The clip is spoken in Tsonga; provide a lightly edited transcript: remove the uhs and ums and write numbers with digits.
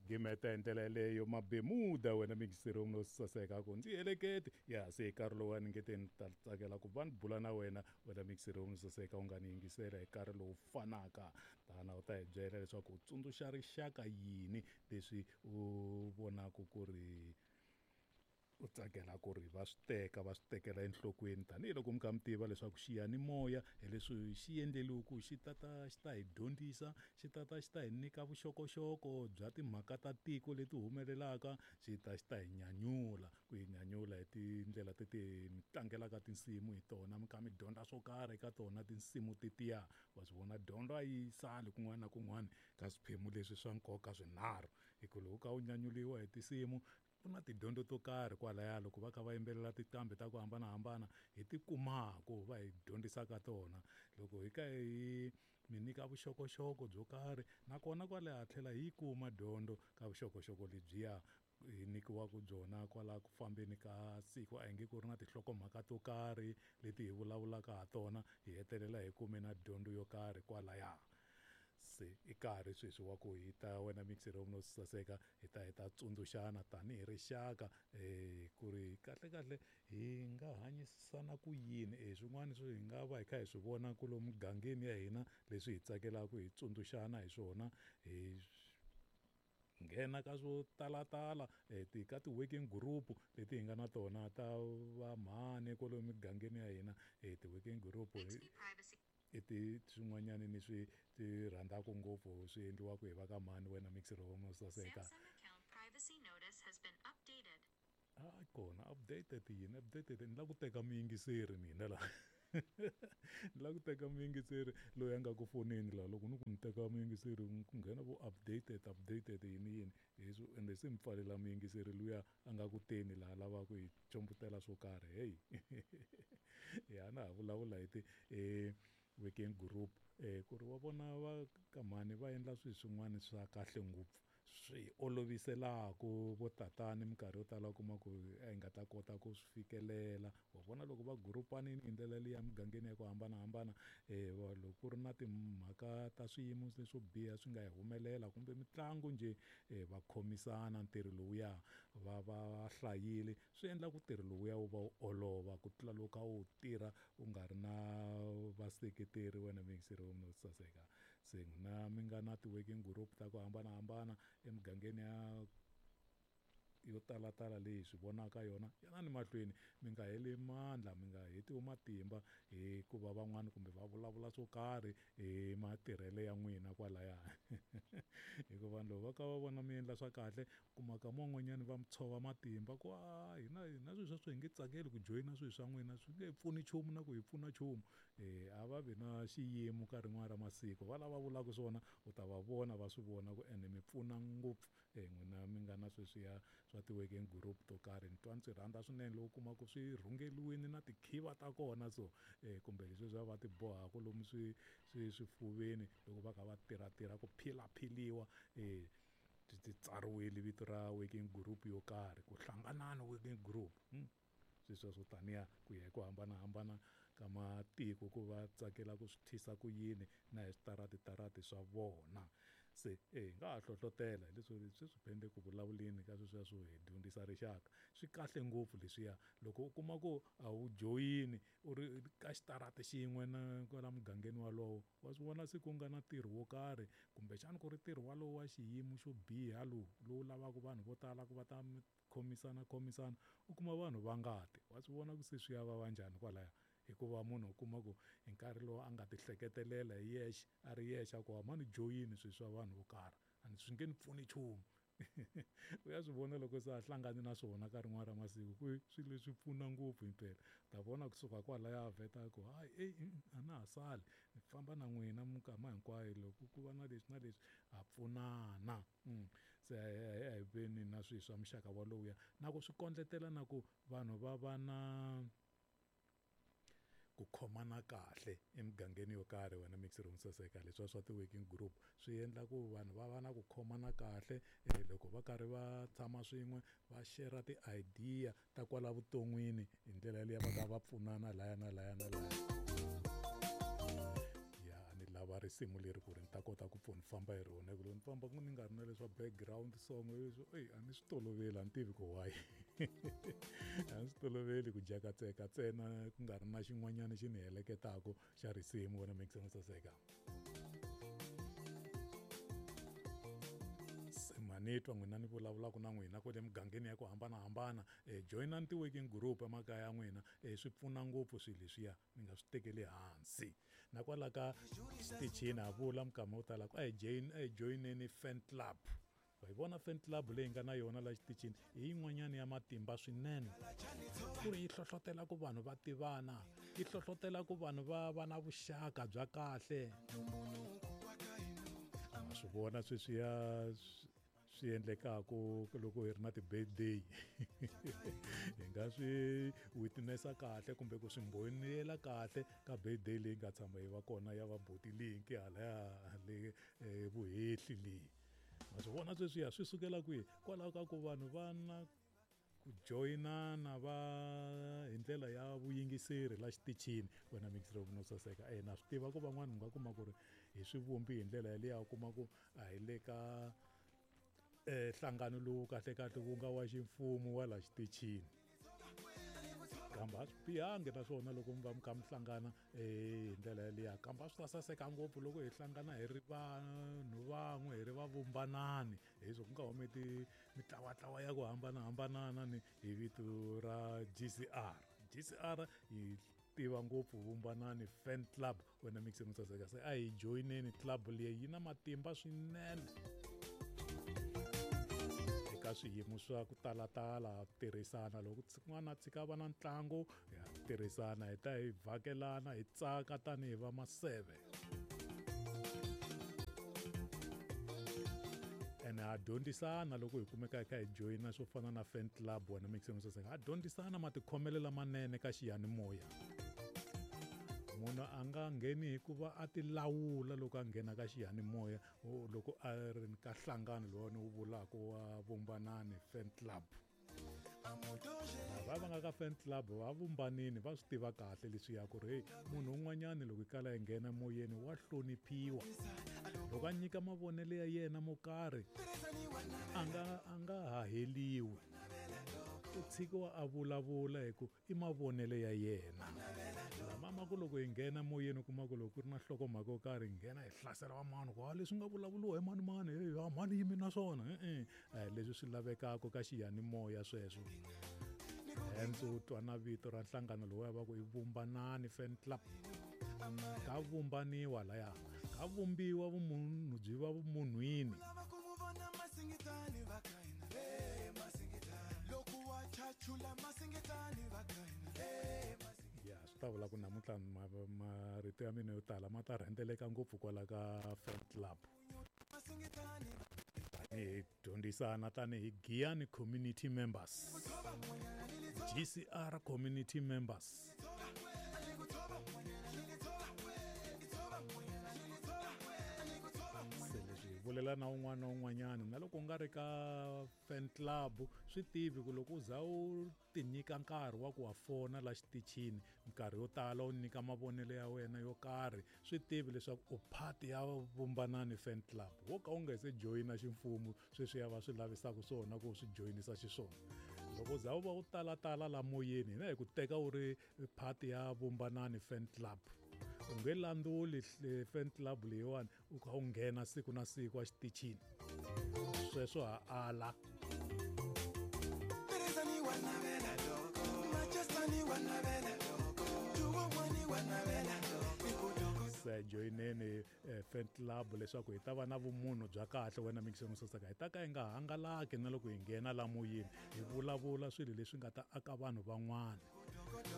Gimeta hi ndlela yeleyo Mabemuda wena mixeri no saseka ku ndzi heleketi ya se hi nkarhi lowu a ni nge te ni ta tsakela ku va ni bula na wena wena mixeri no saseka u nga ni yingisela hi nkarhi lowu fanaka tana u ta hi byela leswaku u tsundzuxa rixaka yini leswi u vonaka ku ri u tsakela ku ri va swi teka va swi tekela enhlokweni tanihiloko mi kha mi tiva leswaku xiyanimoya hi leswi xi endleliwe ku xi tata xi ta hi dyondzisa xi tata xi ta hi nyika vuxokoxoko bya timhaka ta tiko leti humelelaka xi ta xi ta hi nyanyula ku hi nyanyula hi tindlela teti mi tlangelaka tinsimu hi tona mi kha mi dyondza swo karhi eka tona tinsimu tetiya wa swi vona dyondzo a yi sali kun'wana na kun'wana ka swiphemu leswi swa nkoka swinharhu hi ku loko u kha u nyanyuliwa hi tinsimu ku na tidyondzo to karhi kwalaya loko va kha va yimbelela tinqambi ta ku hambanahambana hi ti kumaku va hi dyondzisaka tona loko hi ka hi mi nyika vuxokoxoko byo karhi nakona kwalaya tlhela hi yi kuma dyondzo ka vuxokoxoko lebyiya hi nyikiwaka byona kwala ku fambeni ka siku a hi nge ku ri na tinhlokomhaka to karhi leti hi vulavulaka ha tona hi hetelela hi kume na dyondzo yo karhi kwalaya se i nkarhi sweswi wa ku hi ta wena mixer no saseka hi ta hi ta tsundzuxana tanihi rixaka um ku ri kahle kahle hi nga hanyisana ku yini e swin'wana swi hi nga va hi kha hi swi vona ku lomu mugangeni ya hina leswi hi tsakelaka hi tsundzuxana hi swona hi nghena ka swo talatala ti ka ti-working group leti hi nga na tona ta vamhani kwalomu migangeni ya hina ti-working group i ti swin'wanyani ni swi ti rhandzaka ngopfu swi endliwaka hi va ka mhani wena mixer wo saseka a kona updated yini updated ni lava ku teka muyingiseri mina laha ni lava ku teka muyingiseri loyi a nga ku foneni laha loko ni ku ni teka muyingiseri ku nghena vo updated updated yini yini hi swo ende se mi pfalela muyingiseri luya a nga ku teni laha lavaka hi combutela swo karhi heyi ya na ha vulavula hi ti working group ku ri wa vona va ka mhani va endla swilo swin'wana swa kahle ngopfu swi oloviselaku vo tatani minkarhi yo tala u kuma ku a hi nga ta kota ku swi fikelela wa vona loko va gurupanini hi ndlela liya emugangeni ya ku hambanahambana um loko ku ri na timhaka ta swiyimo leswo biha swi nga hi humelela kumbe mitlangu njhe um va khomisana ntirho lowuya va va hlayile swi endla ku ntirho lowuya wu va wu olova ku tlula loko a wu tirha u nga ri na vaseketeri wena muyingiseri wo saseka se n'wina mi nga na ti-working group ta ku hambanahambana emugangeni ya yo talatala leyi hi swi vonaka yona yanani mahlweni mi nga heli mandla mi nga hetiwi matimba hikuva van'wani kumbe va vulavula swo karhi hi matirhelo ya n'wina kwalaya hikuva vanhu loko va kha va vona mi endla swa kahle kuma ka man'wanyani va mi tshova matimba ku a hina hina swilo sweswo hi nge tsakeli ku joyina swilo swa n'wina swi nge pfuni nchumu na ku hi pfuna nchumu a va vi na xiyimo ka rin'wana ra masiku va lava vulaka swona u ta va vona va swi vona ku ene mi pfuna ngopfu n'wina mi nga na sweswiya swa ti-working group to karhi ni twa ni swi rhandza swinene loko u kuma ku swi rhungeriwile na tikhiva ta kona so kumbe leswiya va ti bohaka lomu swi swi swifuveni loko va kha va tirhatirha ku philaphiliwa ti tsariwile vito ra working group yo karhi ku hlanganani working group swilo sweswo taniya ku ya hi ku hambanahambana ka matiko ku va tsakela ku swi thyisa ku yini na hi switaratitarati swa vona se hi nga ha hlohlotela hi leswi sweswi phende ku vulavuleni ka sweswiya swo hi dyondzisa rixaka swi kahle ngopfu leswiya loko u kuma ku a wu joyini u ri ka xitarata xin'we na kwala mugangeni walowo wa swi vona se ku nga na ntirho wo karhi kumbexana ku ri ntirho walowo wa xiyimo xo biha lowu lowu lavaka vanhu vo tala ku va ta khomisana khomisana u kuma vanhu va nga ti wa swi vona ku se swi ya vava njhani kwalaya hikuva munhu u kuma ku hi nkarhi lowu a nga ti hleketelela hi yexe a ri yexe a ku a ni joyini swilo swa vanhu vo karhi a ni swi nge ni pfuni nchumu u ya swi vona loko se a hlangane na swona ka rin'wana ra masiku ku swilo leswi pfuna ngopfu himpela ta vona kusuka kwalaya a vheta ku hayi eyi a na ha sali ni famba na n'wina minkama hinkwayo loko ku va na leswi na leswi ha pfunana se a hi veni na swilo swa muxaka walowuya na ku swi kondletela na ku vanhu va va na ku khomana kahle emugangeni yo karhi wena mixer wo saseka leswiya swa ti-working group swi endla ku vanhu va va na ku khomana kahle loko va karhi va tshama swin'we va share ti-idea ta kwala vuton'wini hi ndlela yaleyo va ka va pfunana laya na laya na laya ya ni lava risimu leri ku ri ni ta kota ku pfuna famba. hi rona hi ku loko ni famba ni nga ri na leswa background song leswo eyi a ni swi toloveli a ni tivi ku why a ni swi toloveli ku jakatseka ntsena ku nga ri na xin'wanyana xi ni heleketaka xa risimu wena mixen saseka se manitwa n'wina ni vulavulaka na n'wina kwale mugangeni ya ku hambanahambana joyinani ti-working group emakaya ya n'wina swi pfuna ngopfu swilo leswiya mi nga swi tekeli hansi na kwala ka xitichini ha vula minkama yo tala ku a hi join a hi joyineni fan club wa yi vona fan club leyi nga na yona la xitichini hi yin'wanyana ya matimba swinene ku ri yi hlohlotela ku vanhu va tivana yi hlohlotela ku vanhu va va na vuxaka bya kahle ma swi vona sweswiya swi endlekaku loko hi ri na ti-birthday hi nga swi witness-a kahle kumbe ku swi mbhoniyela kahle ka birthday leyi nga tshama yi va kona ya va buti Linki halaya le vuhehli leyi ma swi vona sweswiya swi sukela kwihi kwalaho ka ku vanhu va na ku joyinana va hi ndlela ya vuyingiseri la xitichini wena mixer no saseka e na swi tiva ku van'wana u nga kuma ku ri hi swivumbi hi ndlela yaleyo u kuma ku a hi le ka nhlangano lowu kahle kahle wu nga wa ximfumo wa la xitichini kambe a swi bihangi naswona loko mi va mi kha mi hlangana hi ndlela yaliya kambe a swi ta saseka ngopfu loko hi hlangana hi ri vanhu van'we hi ri va vumbanani hi swo ku nga humi mitlawatlawa ya ku hambanahambana ni hi vito ra GCR GCR yi tiva ngopfu vumbanani fan club wena mixing saseka se a hi joyineni club leyi yi na matimba swinene eka swiyimo swa ku talatala tirhisana loko n'wana a tshika va na ntlangu ya tirhisana hi ta hi vhakelana hi tsaka tanihi va maseve ene ha dyondzisana loko hi kumeka hi kha hi joyina swo fana na fan club wena mixing saseka ha dyondzisana matikhomelo lamanene ka xiyanimoya munhu a nga ngheni hikuva a ti lawula loko a nghena ka xiyanimoya loko a ri ka nhlangano lowani wu vulaka wa vumbanani fan club lava va nga ka fan club va vumbanini va swi tiva kahle leswiya ku ri heyi munhu un'wanyani loko yi kala yi nghena moyeni wa hloniphiwa loko a nyika mavonelo ya yena mo karhi a nga a nga haheliwi u tshikiwa a vulavula hi ku i mavonelo ya yena lama ma ku loko hi nghena moyeni u kuma ku loko ku ri na nhlokomhaka yo karhi hi nghena hi hlasela vamani ku a leswi nga vulavuriwa hi mani mani hey a mani yimi na swona e-e a hi leswi swi lavekaka ka xiyanimoya sweswo hence u twa na vito ra nhlangano lowuya va ku i vumbanani fan club ka vumbaniwa laya ka vumbiwa vumunhu byi va vumunhwini ya swi ta vula ku namuntlha marito ya mina yo tala ma ta rhendzeleka ngopfu kwala ka fan club tanihi dyondzisana tanihi Giyani community members GCR community members se leswi hi vulela na un'wana na un'wanyana na loko u nga ri ka fan club swi tivi ku loko u za u tinyika nkarhi wa ku wa fona la xitichini minkarhi yo tala u nyika mavonelo ya wena yo karhi swi tivi leswaku u part ya vumbanani fan club wo ka u nga se joyina ximfumo sweswi ya va swi lavisaka swona ku swi joyinisa xiswona loko za u va u talatala la moyeni hina hi ku teka u ri part ya vumbanani fan club u nge landzuli fan club leyiwani u kha u nghena siku na siku exitichini sweswo ha ala se joyineni fan club leswaku hi ta va na vumunhu bya kahle wena mixeni sosaka hi ta ka hi nga hangalaki na loko hi nghena la moyeni hi vulavula swilo leswi nga ta aka vanhu van'wana.